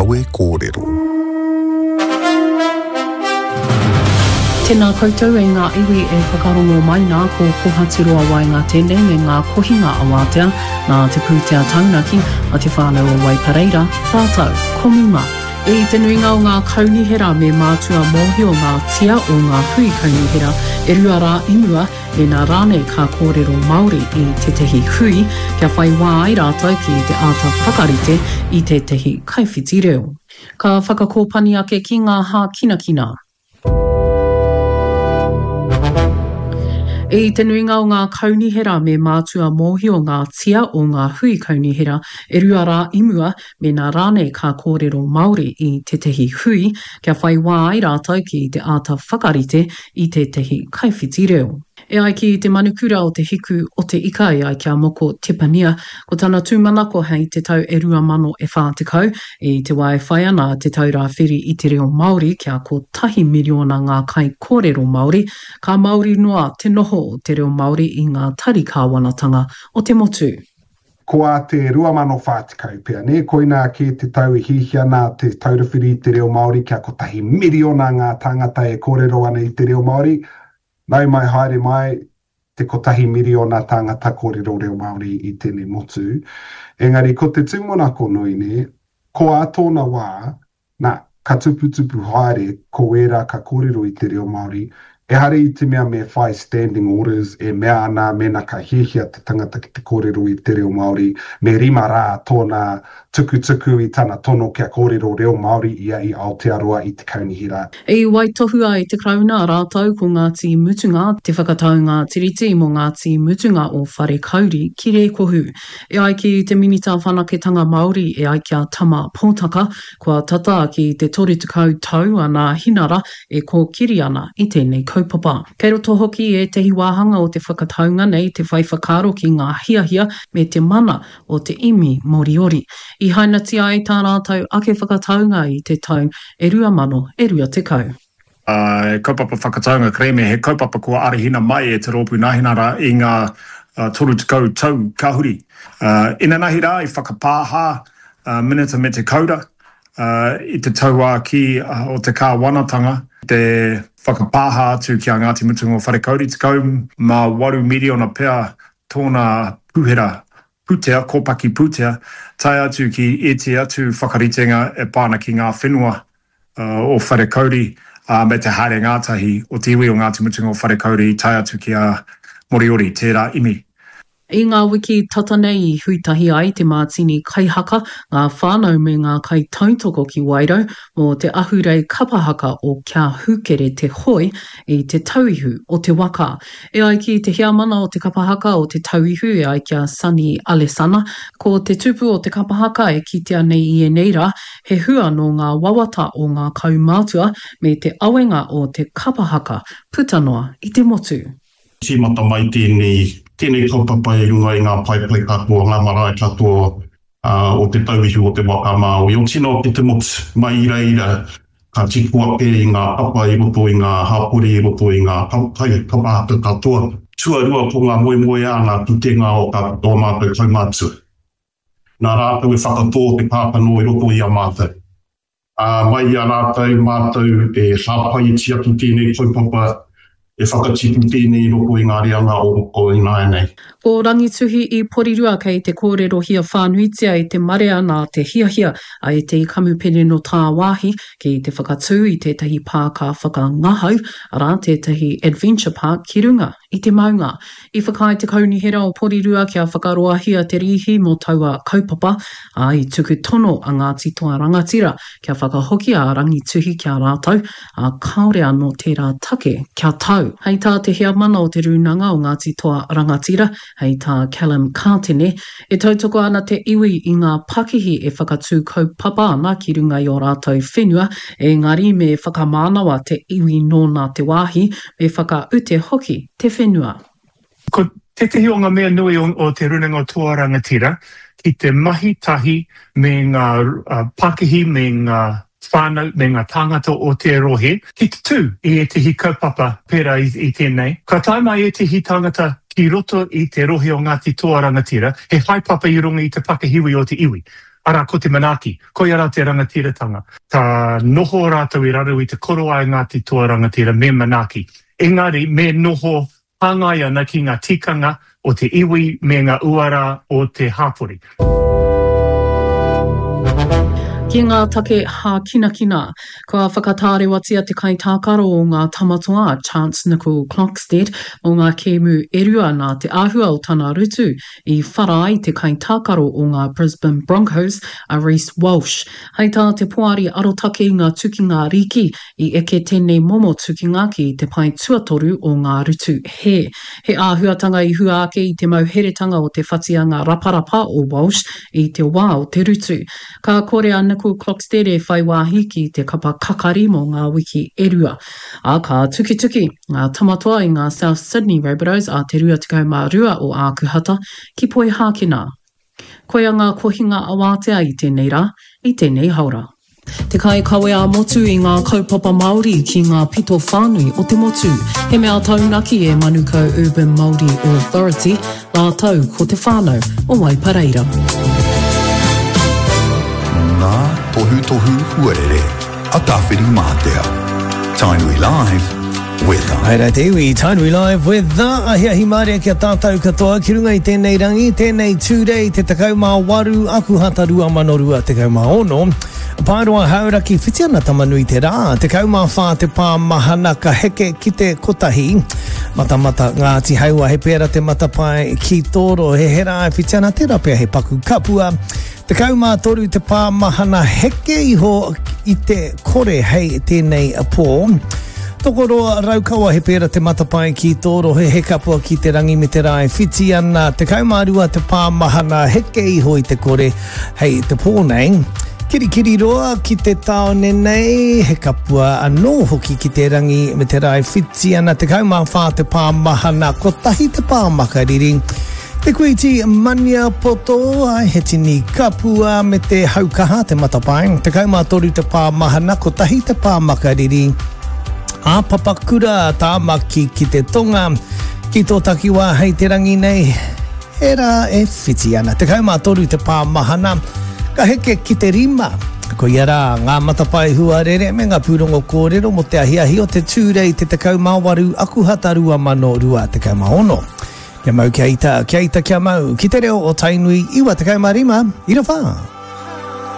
Kawe Kōrero. Tēnā koutou e ngā iwi e whakarongo mai nā ko Kohaturoa Waenga tēnei me ngā kohinga awātea nā te pūtea taunaki a Te Whānau o Waipareira rātou ko Muma. I te nuinga o ngā kaunihera me mātua mōhio ngā tia o ngā hui kaunihera e rua rā i mua Mēnā rānei ka kōrero Māori i tētahi hui, kia whai wā ai rātou ki te āta whakarite i tētahi kaiwhiti reo. Ka whakakōpani ake ki ngā hākinakina. I te nuinga o ngā kaunihera me mātua mōhio ngā tia o ngā hui kaunihera e rua rā i mua, mēnā rānei ka kōrero Māori i tētahi hui, kia whai wā ai rātou ki te āta whakarite i tētahi kaiwhiti reo. E ai ki te manukura o Te Hiku o Te Ika e ai ki a Moko Tepania, ko tana tūmanako hei te tau e 2040, i te wā e whai ana Te Taura Whiri i te Reo Māori kia kotahi miriona ngā kaikōrero Māori, ka māori noa te noho o te reo Māori i ngā tari kāwanatanga o te motu. Ko ā te 2040 pea, nē? Koinā kē te tau e hiahia ana Te Taura Whiri i te Reo Māori kia kotahi miriona ngā tāngata e kōrero ana i te reo Māori. Nau mai haere mai te kotahi miriona tāngata kōrero reo Māori i tēnei motu. Engari ko te tūmanako nui, nē, ko ā tōna wā, Nā, ka tuputupu haere ko ērā ka kōrero i te reo Māori, ehara i te mea me whai standing orders e mea ana mēnā ka hiahia te tangata ki te kōrero i te reo Māori, me rima rā tōna tukutuku i tana tono kia kōrero reo Māori ia i Aotearoa i te kaunihera. I waitohua e te Karauna rātou ko Ngāti Mutunga te whakataunga Tiriti mō Ngāti Mutunga o Wharekauri ki Rēkohu. E ai ki te Minita Whanaketanga Māori e ai ki a Tama Potaka, kua tata ki te 30 tau a Nāhinara e kōkiri ana i tēnei kaupapa. Kei roto hoki i ētahi wāhanga o te whakataunga nei te whai whakaaro ki ngā hiahia me te mana o te imi Moriori. I hainatia ai tā rātou ake whakataunga i te tau e 2020. He kaupapa whakataunga kerēme, he kaupapa kua arahina mai e Te Rōpū Nāhinara i ngā 30 tau ka huri. Inanahi rā i whakapāha a Minita Mete Kaura i te tauākī o te kāwanatanga, te whakapāha atu ki a Ngāti Mutunga o Wharekauri, 18 miriona pea tōna pūhera pūtea, kōpaki pūtea, tae atu ki ētehi atu whakaritenga e pā ana ki ngā whenua o Wharekauri, ā, me te haere ngātahi o te iwi o Ngāti Mutunga o Wharekauri tae atu ki a Moriori, tērā imi. I ngā wiki tata nei i huitahi ai te mātini kaihaka, ngā whānau me ngā kaitautoko ki Wairau mō te ahurei kapa haka o Kia Hūkere Te Hoe i te tauihu o te waka. E ai ki te heamana o te kapa haka o Te Tauihu e ai ki a Sonny Alesana, ko te tupu o te kapa haka e kitea nei i ēnei rā, he hua nō ngā wawata o ngā kaumātua me te awenga o te kapa haka puta noa i te motu. Tīmata mai tēnei, tēnei kaupapa i runga i ngā paepae katoa, ngā marae katoa o Te Tauihu o Te Waka a Māui, o tino o te motu. Mai i reira, ka tipu ake i ngā papa i roto i ngā hapori, i roto i ngā kapa haka katoa. Tuarua ko ngā moemoeā, ngā pukenga o ō mātou kaumātua. Nā rātou e whakatō te kākano i roto i a mātou. Ā, mai i a rātou mātou e hāpai e tiaki tēnei kaupapa, e whakatipu tēnei i roto i ngā reanga o ināianei. Ko Rangituhi i Porirua kei te kōrerohia whānuitia e te marea nā te hiahia a ētehi kamupene nō tāwāhi ki te whakatū i tētahi pāka whakangahau, arā, tētahi adventure park ki runga i te maunga. I whakaae te Kaunihera o Porirua kia whakaroahia te rīhi mō taua kaupapa, ā, i tuku tono a Ngāti Toa Rangatira kia whakahokia a Rangituhi ki a rātou, ā, kāore anō tērā take kia tau. Hei tā te heamana o te Rūnanga o Ngāti Toa Rangatira, hei tā Callum Kātene, e tautoko ana te iwi i ngā pakihi e whakatū kaupapa ana ki runga i ō rātou whenua, engari me whakamānawa te iwi nōna te wāhi, me whakaute hoki te whenua. Ko tētehi o ngā mea nui o Te Rūnanga o Toa Rangatira ki te mahi tahi me ngā pakihi me ngā whānau me ngā tāngata o te rohe ki te tū i ētehi kaupapa pērā i tēnei. Ka tae mai ētehi tāngata ki roto i te rohe o Ngāti Toa Rangatira, he haepapa i runga i te pakihiwi o te iwi. Arā, ko te manaaki. Koia rā te rangatiratanga. Ka noho rātou i raro i te korowai Ngāti Toa Rangatira me manaaki. Engari, me noho hāngai ana ki ngā tikanga o te iwi me ngā uara o te hapori. Ki ngā take hākinakina, kua whakatārewatia te kaitākaro o ngā Tamatoa a Chance Nicol-Clockstead mō ngā kēmu e rua nā te āhua o tana rutu i whara ai te kaitākaro o ngā Brisbane Broncos a Reece Walsh. Hei tā te Poari Arotake i ngā Tukinga Rīki, I eke tēnei momo tukinga ki te pae tuatoru o ngā rutu hē. He āhuatanga i hua ake i te mauheretanga o te whatianga raparapa o Walsh i te wā o te rutu. Ka kore a Nicol Klokstede e whai wāhi ki te kapa kakari mō ngā wiki e rua. Ā, ka tukituki ngā tamatoa i ngā South Sydney Rabbitohs a te 22 o Ākuhata ki Poihākena. Koia ngā kohinga awātea i tēnei rā, i tēnei haora. Te kaikawe ā-motu i ngā kaupapa Māori ki ngā pito whānui o te motu. He mea taunaki e Manukau Urban Māori Authority rātou ko te whānau o Waipareira. Ngā tohutohu huarere a Tāwhirimātea. Tainui Live, Weather. Haere te iwi, Tainui Live Weather. Ahiahi mārie ki a tātou katoa ki runga i tēnei rangi, tēnei Tūrei te 18 Akuhata 2026. Paeroa Hauraki whiti ana Tamanui te rā, 14 te pā mahana ka heke ki te kotahi. Matamata Ngāti Haua he pēra te matapae ki tō rohe, he rā e whiti ana tērā pea he paku kapua. 13 te pā mahana heke iho i te kore hei tēnei pō. Tokoroa Raukawa he pēra te matapae ki tō rohe he kapua ki te rangi me te rā e whiti ana. 12 te pā mahana heke iho i te kore hei te pō nei. Kirikiriroa ki te tāone nei, he kapua anō hoki ki te rangi me te rā e whiti ana. 14 te pā mahana, kotahi te pā makariri. Te Kuiti Maniapoto, ai, he tini kapua me te haukaha, te matapae. 13 te pā mahana, kotahi te pā makariri. A Papakura, Tāmaki ki te tonga, ki tō takiwā hei te rangi nei, he rā e whiti ana. 13 te pā mahana, ka heke ki te rima. Koia rā, ngā matapae huarere me ngā pūrongo kōrero mō te ahiahi o te Tūrei te 18 Akuhata 2026. Kia mau kia ita, kia ita kia mau, ki te reo o Tainui 95 ira wha.